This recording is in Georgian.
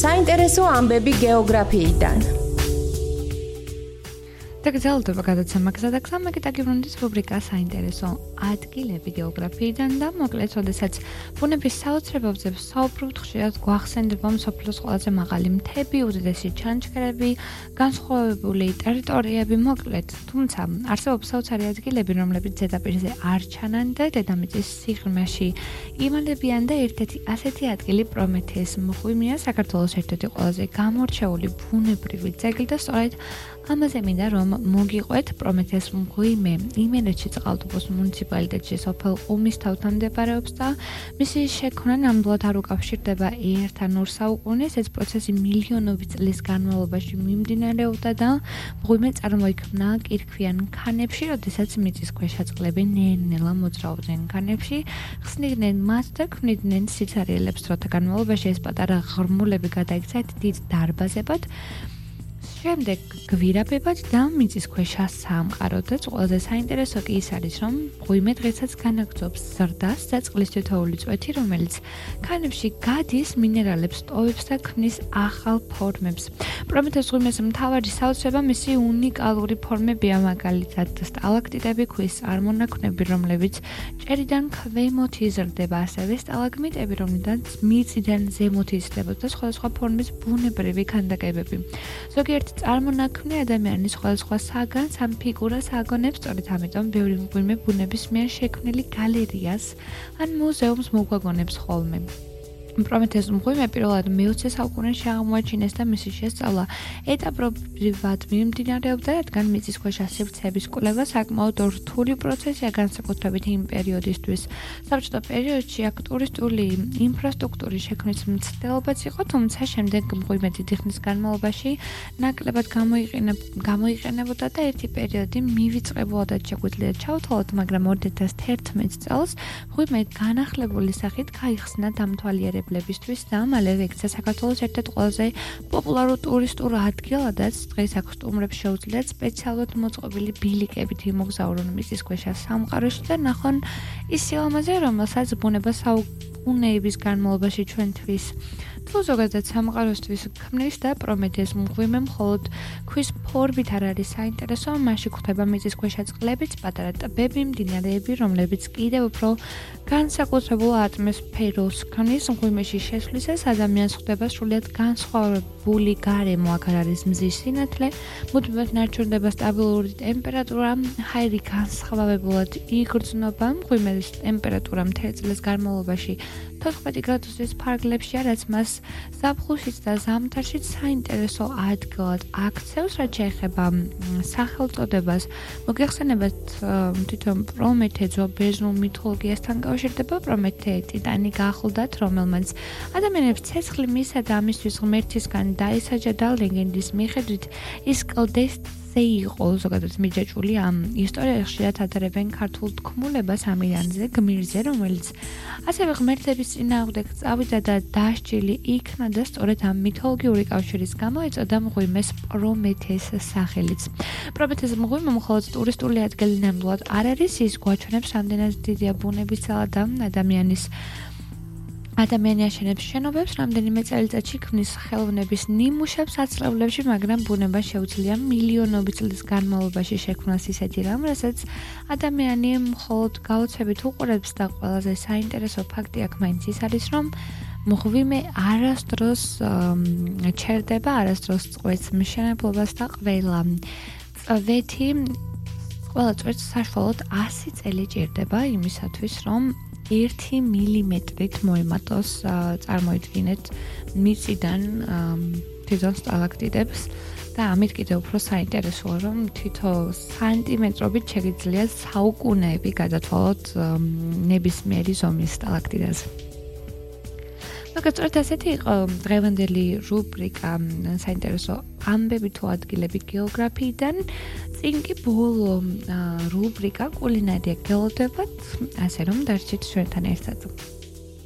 საინტერესო ამბები გეოგრაფიიდან. დაგრძელდება გადაცემა გზადაგზა მეკიტაგიბრუნდის რუბრიკა საინტერესო ადგილები გეოგრაფიიდან და მოკლედ, როდესაც ბუნების საოცრებებზე ვსაუბრობთ, ხშირად გვახსენდება მსოფლიოს ყველაზე მაღალი მთები, უდიდესი ჩანჩქერები, განსხვავებული ტერიტორიები, მოკლედ, თუმცა არსებობს საოცარი ადგილები, რომლებიც ზედაპირზე არ ჩანან და დედამიწის სიღრმეში იმალებიან და ერთ-ერთი ასეთი ადგილი პრომეთეის მღვიმეა, საქართველოს ერთ-ერთი ყველაზე გამორჩეული ბუნებრივი ძეგლი და სწორედ ამაზე მინდა რომ მოგიყვეთ პრომეთეის მღვიმე იმერეთში წყალტუბოს მუნიციპალიტეტში სოფელ ყუმის თავთან მდებარეობს და მისი შექმნა ნამდვილად არ უკავშირდება ერთ ან ორ საუკუნეს. ეს პროცესი მილიონობით წლის განმავლობაში მიმდინარეობდა და მღვიმე წარმოიქმნა კირქვიან ქანებში, როდესაც მიწისქვეშა წყლები ნელ-ნელა მოძრაობდნენ ქანებში, ხსნიდნენ მათ და ქმნიდნენ სიცარიელებს. დროთა განმავლობაში ეს პატარა ღრმულები გადაიქცა დიდ დარბაზებად, შემდეგ გვირაბებად და მიწისქვეშა სამყაროდ და ყველაზე საინტერესო კი ის არის, რომ მღვიმე დღესაც განაგრძობს ზრდას და წყლის თითოეული წვეთი, რომელიც ქანებში გადის, მინერალებს ტოვებს და ქმნის ახალ ფორმებს. პრომეთეის მღვიმეს მთავარი საოცრება მისი უნიკალური ფორმებია, მაგალითად სტალაქტიტები, ქვის წარმონაქმნები, რომლებიც ჭერიდან ქვემოთ იზრდება, ასევე სტალაგმიტები, რომლითაც მიწიდან ზემოთ იზრდებოდა და სხვადასხვა ფორმის ბუნებრივი ქანდაკებები. ზოგიერთი წარმონაქმნი ადამიანის სხვადასხვა საგანს ამ ფიგურას აგონებს, სწორედ ამიტომ ბევრი მღვიმე ბუნების მიერ შექმნილი გალერეას ან მუზეუმს მოგვაგონებს ხოლმე. პრომეთეის მღვიმე პირველად მე-20 საუკუნეში აღმოაჩინეს და მისი შესწავლა ეტაპობრივად მიმდინარეობდა, რადგან მიწისქვეშა სივრცეების კვლევა საკმაოდ რთული პროცესია, განსაკუთრებით იმ პერიოდისთვის. საბჭოთა პერიოდში აქ ტურისტული ინფრასტრუქტურის შექმნის მცდელობაც იყო, თუმცა შემდეგ მღვიმე დიდი ხნის განმავლობაში ნაკლებად გამოიყენებოდა და ერთი პერიოდი მივიწყებულადაც შეგვიძლია ჩავთვალოთ, მაგრამ 2011 წელს მღვიმე განახლებული სახით გაიხსნა დამთვალიერებლად და მალევე იქცა საქართველოს ერთ-ერთ ყველაზე პოპულარულ ტურისტულ ადგილადაც. დღეს აქ სტუმრებს შეუძლიათ სპეციალურად მოწყობილი ბილიკებით იმოგზაურონ მიწისქვეშა სამყაროში და ნახონ ის სილამაზე, რომელსაც ბუნება საუკუნეების განმავლობაში ჩვენთვის თუ ზოგადად სამყაროსთვის ქმნის და პრომეთეის მღვიმე მხოლოდ ქვის ფორმით არ არის საინტერესო, მასში გვხვდება მიწისქვეშა წყლებიც, პატარა ტბები, მდინარეები, რომლებიც კიდევ უფრო განსაკუთრებულ ატმოსფეროს ქმნის. მღვიმეში შესვლისას ადამიანს ხვდება სრულიად განსხვავებული გარემო, აქ არ არის მზის სინათლე, მუდმივად ნარჩუნდება სტაბილური ტემპერატურა, ჰაერი განსხვავებულად იგრძნობა. მღვიმის ტემპერატურა მთელი წლის განმავლობაში 14 გრადუსის ფარგლებშია, რაც მას ზაფხულშიც და ზამთარშიც საინტერესო ადგილად აქცევს, რაც შეეხება სახელწოდებას. მოგეხსენებათ თვითონ პრომეთე ბერძნულ მითოლოგიასთან კავშირდება. პრომეთე ტიტანი გახლდათ, რომელმაც ადამიანებს ცეცხლი მისცა და ამისთვის ღმერთისგან დაისაჯა და ლეგენდის მიხედვით ის კლდეზე იყო ზოგადად მიჯაჭვული. ამ ისტორიაში ხშირად ატარებენ ქართულ თქმულებას ამირანზე, გმირზე, რომელიც ასევე ღმერთების წინააღმდეგ წავიდა და დასჯილი იქნა და სწორედ ამ მითოლოგიური კავშირის გამო ეწოდა მღვიმეს პრომეთეის სახელიც. პრომეთეის მღვიმე მხოლოდ ტურისტული ადგილი ნამდვილად არ არის, ის გვაჩვენებს რამდენად დიდია ბუნების ძალა და ადამიანი აშენებს შენობებს, რამდენიმე წელიწადში ქმნის ხელოვნების ნიმუშებს აცლევლებში, მაგრამ ბუნება შეუძლია მილიონობით წლის განმავლობაში შექმნას ისეთი რამ, რასაც ადამიანი მხოლოდ გაოცებით უყურებს და ყველაზე საინტერესო ფაქტი აქ მაინც ის არის, რომ მღვიმე არასდროს ჩერდება, არასდროს წყვეტს მშენებლობას და ყველა წვეთს საშუალოდ 100 წელი ჭირდება იმისათვის, რომ 1 მილიმეტრით მოემატოს, წარმოიდგინეთ მიწიდან თვითონ სტალაქტიტებს და ამით კიდევ უფრო საინტერესოა, რომ თითო სანტიმეტრობით შეგიძლიათ საუკუნეები გადათვალოთ ნებისმიერი ზომის სტალაქტიტაზე. სწორედ ასეთი იყო დღევანდელი რუბრიკა საინტერესო ამბები თუ ადგილები გეოგრაფიიდან. წინ კი ბოლო რუბრიკა კულინარია გელოდებათ, ასე რომ დარჩით ჩვენთან ერთად.